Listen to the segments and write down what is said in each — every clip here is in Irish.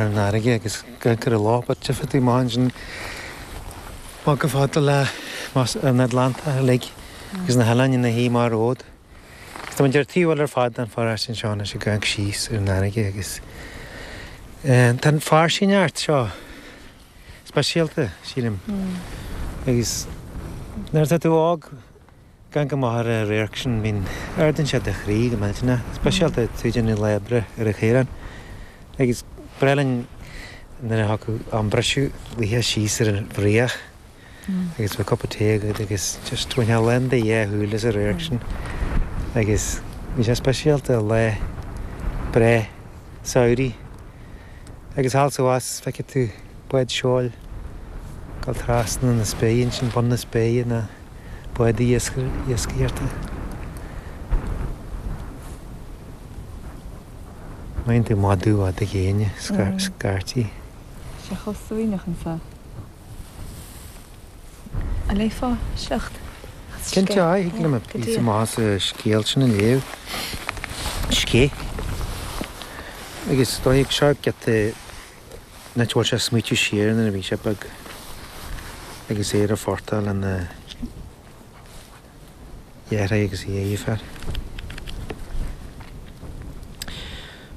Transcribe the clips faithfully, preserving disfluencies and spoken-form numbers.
an fharraige agus ag amharc ar an loch, but tchífidh tú amach ansin amach chomh fada le an Atlantach uilig agus na hoileáin ina thaobh amach romhat. Agus tá muid ar taobh eile ar fad den pharóiste anseo anois ag amharc síos ar an fharraige agus tá an fairsingeacht seo speisialta, sílim. Agus nuair atá tú óg, ag amharc amach ar an radharc sin, bíonn, ardaíonn sé do chroí go millteanach, speisialta tú ag déanamh lá oibre ar an chaorán. Agus ba bhreá linn nuair a thiocfadh am briseadh luí síos ar an bhfraoch agus bheadh cupa tae agat agus just bhainfeá lán do dhá shúil as an radharc sin. Agus bhí sé speisialta lá breá samhraidh. Agus thall is abhus feicfidh tú bád seoil ag dul trasna na spéire ansin, bun na spéire na bádaí iascaireachta. Maíonn tú madadh fhada ghéine, scaití. Sé chomh suaimhneach anseo. An léifeá sliocht? Cinnte, aye, thig liom píosa maith as an scéal sin a léamh. Scéith. Agus is dóigh seo giota an áit a bhfuil sé ag smaoitiú siar nuair a bhí sé beag agus é ar an phortach lena dheartháir agus a dheirfiúr.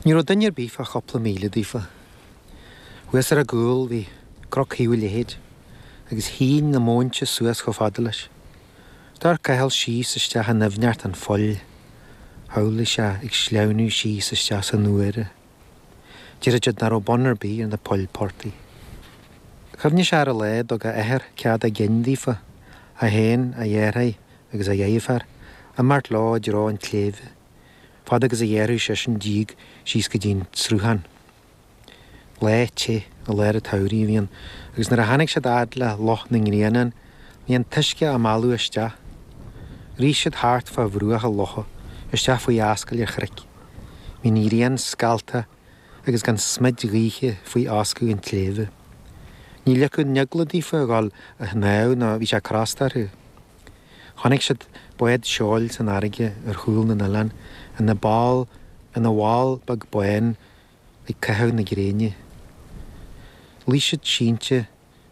Ní raibh duine ar bith fá chúpla míle daofa. Thuas ar a gcúl bhí cnoc Thaobh an Leithéid agus shín na móinte suas chomh fada leis. D'amharc Cathal síos isteach i ndoimhneacht an phoill. Shamhlaigh sé ag sleamhnú síos isteach san úire. Déarfadh siad nach raibh bun ar bith ar na poill portaigh. Chuimhnigh sé ar an lá a dtug a athair cead a gcinn daofa, é féin, a dheartháir agus a dheirfiúr, imeacht leo i dtreo an tsléibhe, fad agus a ghearrfadh seisean díog síos go dtí an sruthán. Lá te i lár an tsamhraidh a bhí ann agus nuair a tháinig siad a fhad le Loch na nGrianán bhí an t-uisce á mealladh isteach. Rith siad thart fá bhruach an locha, isteach faoi ascaill ar chnoic. Bhí an ghrian scalltach agus gan smid ghaoithe faoi fhoscadh an tsléibhe. Ní loicfeadh an eagla daofa a dhul a shnámh nó bhí sé crosta orthu. Chonaic siad bád seoil san fharraige ar chúl na n-oileán ina ball ina bhall beag bán ag caitheamh na gréine. Luigh siad sínte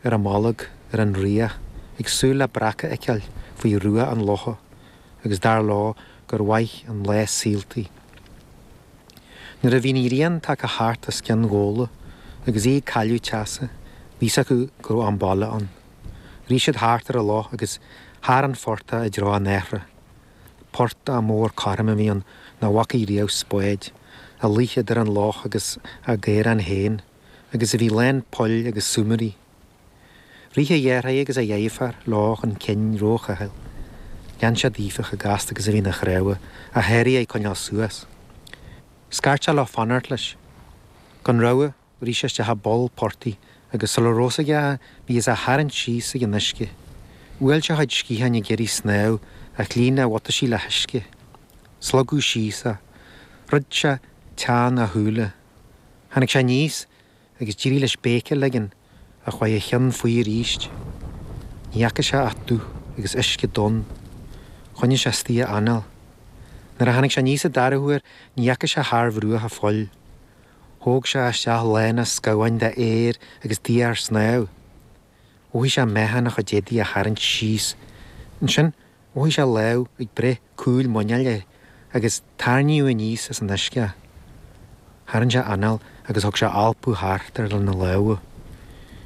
ar a mbolg ar an fhraoch ag súil le breac a fheiceáil faoi rua an locha agus dar leo gur mhaith an lá saolta. Nuair a bhí an ghrian tagtha thart os cionn Ghabhla agus í ag cailleadh teasa, bhí fhios acu go raibh am baile ann. Rith siad thart ar an loch agus thar an phortach i dtreo an athra. Portach mór cothrom a bhí ann nach bhfacaidh riamh spáid, a luigh idir an loch agus a gcaorán féin, agus a bhí lán poill agus súmairí. Rith a dheartháir agus a dheirfiúr leo chun cinn roimh Chathal. Lean siad Aoife chomh gasta agus a bhí na cnámha, ach sháraigh é coinneáil suas. Scairt sé leo fanacht leis. Gan rogha, rith sé isteach i bpoll portaigh agus sula raibh fhios aige bhí fhios á tharraingt síos ag an uisce. Bhuail sé a chuid sciatháin ag iarraidh snámh ach líon a bhutaisí le huisce. Slogadh síos é. Dhruid sé teann a shúile. Tháinig sé aníos agus d'éirigh leis béic a ligean ach chuaigh a cheann faoi arís. Ní fhaca sé ach dúch agus uisce donn. Choinnigh sé istigh a anáil. Nuair a tháinig sé aníos an dara huair ní fhaca sé thar bhruach an phoill. Thóg sé isteach lán a scamháin de aer agus d'iarr snámh. Mhothaigh sé meáchan a chuid éadaí á tharraingt síos. Ansin mhothaigh sé lámh ag breith cúl muineáil air agus tarraingíodh aníos as an uisce é. Tharraing sé anáil agus thug sé alpadh thart air lena lámha.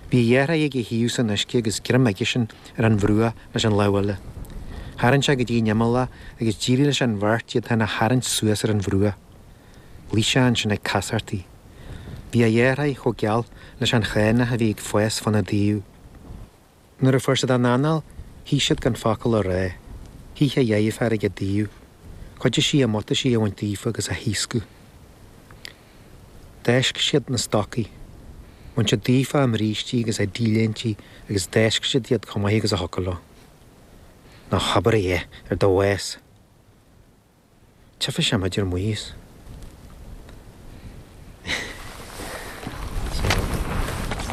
Bhí a dheartháir ag a thaobh san uisce agus greim aigesean ar an bhruach leis an lámh eile. Tharraing sé go dtí an imeall é agus d'éirigh leis an bheirt iad féin a tharraingt suas ar an bhruach. Luigh sé ansin ag casartaigh. Bhí a dheartháir chomh geal leis an chaonach a bhí ag fás fána dtaobh. Nuair a fuair siad a n-anáil, shuigh siad gan focal a rá. Shuigh a dheirfiúr ag a dtaobh. Chuidigh sí a mbutaisí a bhaint daofa agus a thaoscadh. D'fháisc siad na stocaí. Bhain siad daofa a mbrístí agus a dT-léintí agus d'fháisc siad iad chomh maith agus a thiocfadh leo. Ná habair a dhath ar do bhás! Tchífidh sé muid ar maos.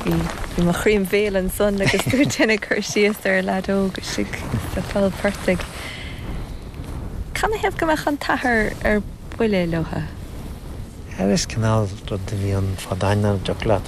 Bhí bhí mo chroí im bhéal ansan agus tú ag déanamh cur síos ar leaid óg istigh sa pholl portaigh. Canathaobh go mbeadh an t-athair ar buile leotha? Is cineál rud a bhí ann fadó nach dtiocfadh leat